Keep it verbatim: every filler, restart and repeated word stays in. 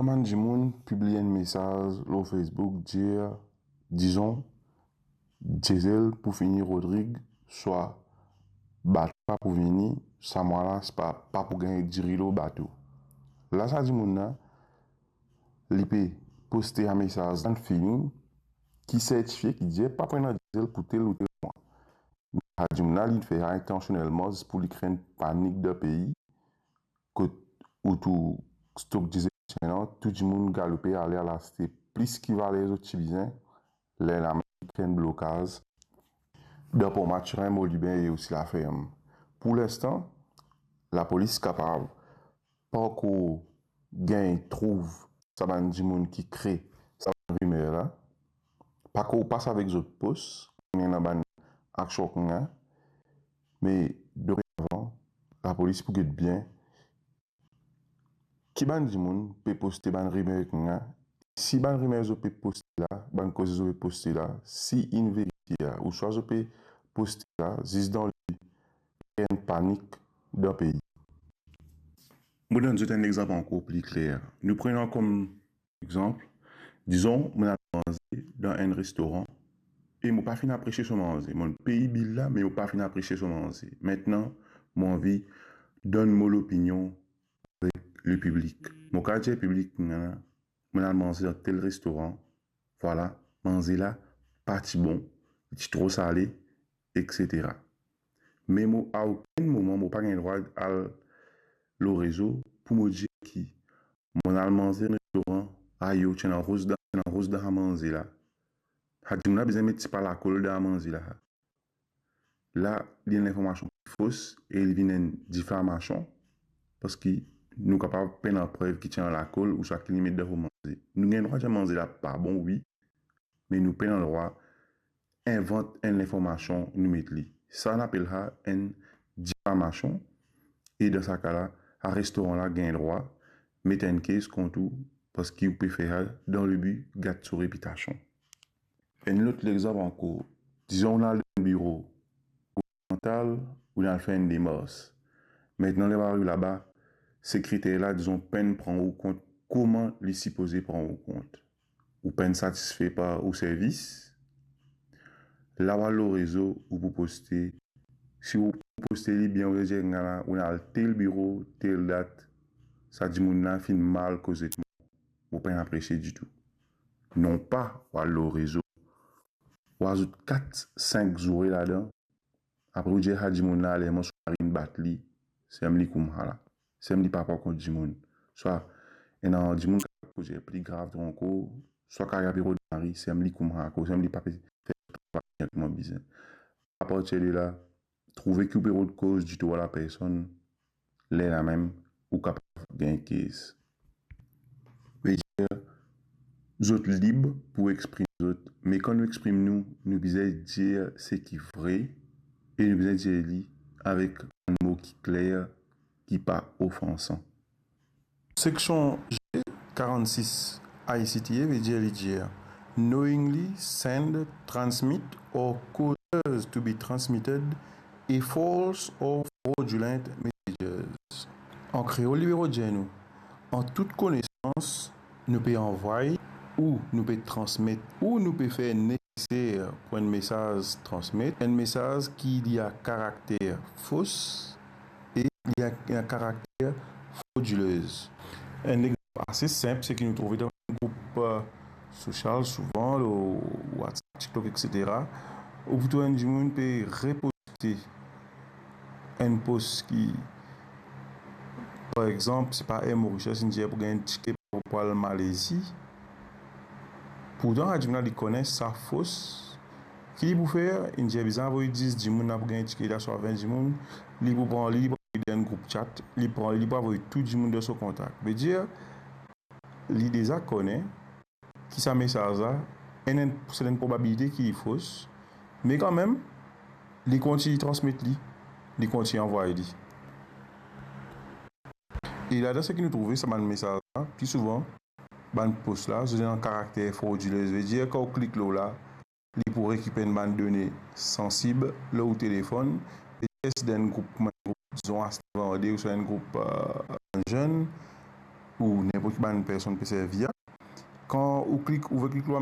Sa bann dimoun pibliy enn mesaz lor Facebook, dir, dizon, Diesel pou fini Rodrig, swa bato pa pou vini, sa mwa la, se pa, pa pou gagn diri lor bato. La, sa dimoun la, li pe poste sa mesaz dan feeling ki sertifie, ki dir pa pou ena diesel pou tel ou tel mwa. Sa dimoun la, li finn fer sa intansionelman, zis pou li kre enn panik dan pei, kot ou tou stok diesel ti ena, tou dimoun galoupe ale al aste plis ki valer zot ti bizin, lerla mem li kre enn blokaz dan Port Mathurin, Moliben e osi Laferm. Pou linstan, lapolis kapav pankor gagn trouv sa bann dimoun ki kre sa bann rimer la, pankor pas avek zot pos, ena bann aksion kounya, me doredovan, lapolis pou get bien ki bann dimoun pe poste bann rimer kounya, si bann rimer zot pe poste la, bann koze zot pe poste la, si inn verifie, ouswa zot pe poste la zis dan li enn panik dan pei. Mo donn zot enn lexanp ankor pli kler. Nou pran kom lexanp, dizon, mo al manze dan enn restoran e mo pa finn apresie so manze. Mo pey bil la, me mo pa finn apresie so manze. Aster, mo anvi donn mo lopinion avek lepiblik. Mo kapav dir piblik, mo al manze dan tel restoran, vwala, manze la pa ti bon, li ti tro sale, etsetera. Me mo, a okenn moman, mo pa gagn drwa al lor rezo pou mo dir ki mo al manze dan restoran, ayo, ti ena roz dan, ti ena roz dan sa manze la. Sa dimoun la bizin met tipa lakol dan sa manze la. La, li enn linformasion ki fos e li vinn enn difamasion, parski nou kapav pena prev ki ti ena lakol ouswa ki li met dan so manze. Nou gagn drwa dir manze la pa bon, wi, me nou pena drwa invant enn linformasion, nou met li. Sa nou apel sa enn difamasion, e dan sa ka la, sa restoran la gagn drwa met enn kes kont ou, parski ou pe fer sa dan le bi gat so repitasion. Enn lot lexanp ankor, dizon ou al dan biro gouvernmantal, ou al fer enn demars. Aster, ler ou ariv laba, sekreter la, dizon, pa'nn pran ou kont kouma li sipoze pran ou kont. Ou pa'nn satisfe par ou servis. La ou al lor rezo, ou pou poste. Si ou poste li bien, ou dir, "Gagn la, ou al tel biro, tel dat, sa dimoun la finn mal koz ek mwa, mo pa'nn apresie ditou." Non pa ou al lor rezo, ou azout kat, sink zoure ladan, apre ou dir, "Sa dimoun la, ler mo so mari inn bat li, samem li koumsa la, samem li pa pran kont dimoun." Swa ena dimoun ki koze pli grav tro ankor, swa ki apel ou dir, "Samem li koumsa akoz samem li pa pe fer travay bien kouma bizin." Apartir de la, trouve ki ou pe rod koz ditou ar lapersonn, lerla mem ou kapav gagn kes. Vedir, zot lib pou exprim zot, me kan nou exprim nou, nou bizin dir seki vre e nou bizin dir li avek bann mo ki kler, ki pa ofansan. Seksion G karannsis I C T A vedir, li dir, knowingly send, transmit or causes to be transmitted a false or fraudulent messages. An kreol, li pe dir nou, an tout konesans, nou pe anvway ou nou pe transmet ou nou pe fer neseser pou enn mesaz transmet, enn mesaz ki li a karakter fos e li a, li a karakter frodilez. Enn lexanp ase sinp, seki nou trouve dan group, eh, sosial, souvan lor WhatsApp, TikTok, etsetera, ou pou trouv enn dimoun pe reposte enn pos ki, par exanp, se pa Air Mauritius inn dir pou gagn enn tike pou al Malezi. Pourtan, sa dimoun la, li kone sa fos. Ki li pou fer? Inn dir bizin avoy dis dimoun la pou gagn tike la, swa vin dimoun. Li pou pran li, li pou avoy dan enn group chat, li pran li, li pou avoy tou dimoun dan so kontak. Vedir, li deza kone ki sa mesaz la, ena enn sertenn probabilite ki li fos, me kanmem, li kontign transmet li, li kontign anvway li. E ladan seki nou trouve sa bann mesaz la, pli souvan, bann pos la, zot ena karakter frodilez, vedir, kan ou klik lor la, li pou rekipere enn bann done sansib lor ou telefonn, vedir, si dan enn group, kouma enn group, dizon, aste vande, ouswa enn group, eh, bann zenn, ou ninport ki bann personn pe servi a. Kan ou klik, ou klik lor